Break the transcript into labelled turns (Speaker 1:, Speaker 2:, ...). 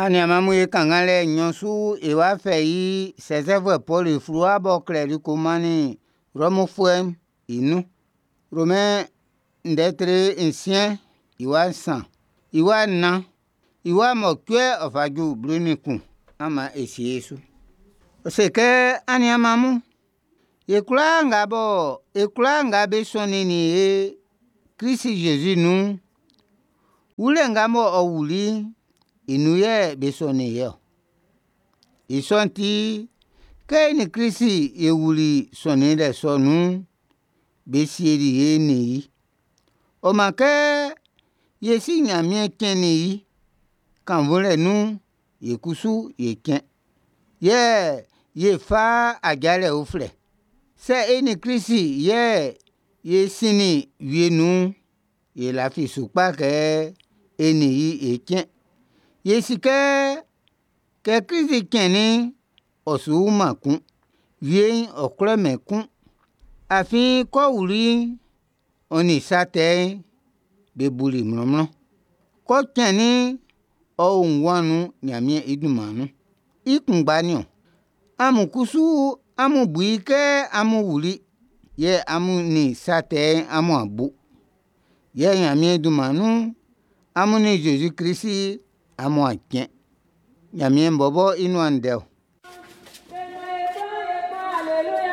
Speaker 1: Aniaan mun e kannganlɛ nnyɔn su e wa fɛ i sɛsɛfuɛ Pɔlu i fluwa b'ɔ klɛli ko mannin Rɔmfuɛ'n i nun. Romɛn ndɛ tre nsiɛn i wa nsan, i wa nnan, i wa mɔcuɛ ɔ fa ju 11, an man e sie e su. Ɔ se kɛ, aniaan mun, ye kwlaa nga bɔ e kwlaa nga be sɔnnin ye Krist-Jésus nun'n, wulɛ nga bɔ ɔ wuli'n, i nun yɛ be sɔnnin ye-ɔ. I sɔ'n ti, kɛ e nin Krist e wuli sɔnninlɛ sɔ nun'n, be sieli ye nin i. Ɔ man kɛ ye Si Nyanmiɛn cɛnnin i kannvunlɛ nun'n, ye kusu e ʼcɛn, yɛ ye ʼfa ajalɛ uflɛ. Sɛ e nin Krist yɛ ye sinnin wie nun'n, e lafi su kpa kɛ e nin i e ʼcɛn. Ye si kɛ, kɛ Krist cɛnnin'n, ɔ su wu-man kun, wie'n ɔ kwlɛ-mɛn i kun. Afin k'ɔ wuli'n, ɔ nin sa tɛ'n be buli mlɔnmlɔn. K'ɔ cɛnnin'n, ɔ o nguan nun Nyanmiɛn i dunman nun. I kunngba nin-ɔn, amun kusu amun bu i kɛ amun wuli, yɛ amun nin sa tɛ'n amu'an bu. Yɛ Nyanmiɛn dunman nun'n, amun nin Zezi-Krist amu'an cɛn. Nyanmiɛn bɔbɔ i nuan ndɛ-ɔ.